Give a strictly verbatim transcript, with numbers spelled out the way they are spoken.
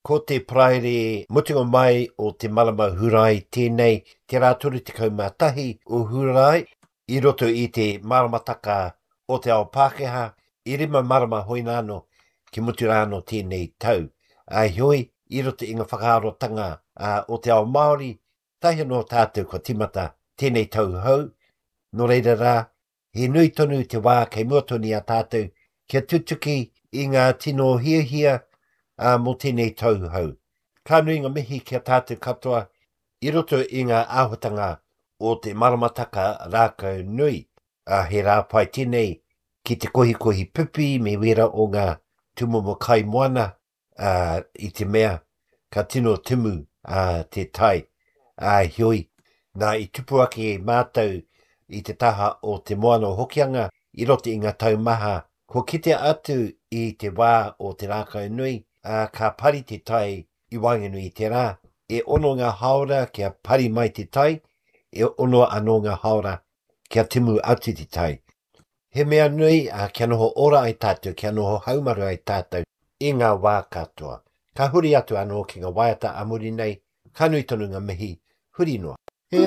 Ko te Paraire mutunga mai o te marama Hurae tēnei, te rā toru tekau mā tahi o Hurae, i roto i te maramataka o te ao Pākehā, i rima marama hoināno ki mutu rāno tēnei tau. Ā, heoi, i roto i ngā whakaarotanga o te ao Māori, tahi anō tātou kua timata tēnei tau hou, nō reira rā, he nui tonu te wā kei mua tonu i a tātou kia tutuki i ngā tino hiahia mō tēnei tau hou. Ka nui ngā mihi ki a tātou katoa i roto i ngā āhuatanga o te maramataka rākau nui. He rā pai tēnei ki te kohikohi pipi me wera o ngā tūmomo kai moana, i te mea ka tino timu te tai. Heoi, nā i tupu ake mātou i te taha o te moana o Hokianga i roto i ngā tau maha, kua kitea atu i te wā o te rākau nui, ka pari te tai i waenganui i te rā. E ono ngā hāora kia pari mai te tai, e ono anō ngā hāora kia timu atu te tai. He mea nui kia noho ora ai tātou, kia noho haumaru ai tātou i ngā wā katoa. Ka huri atu anō ki ngā waiata a muri nei, ka nui tonu ngā mihi, huri noa. E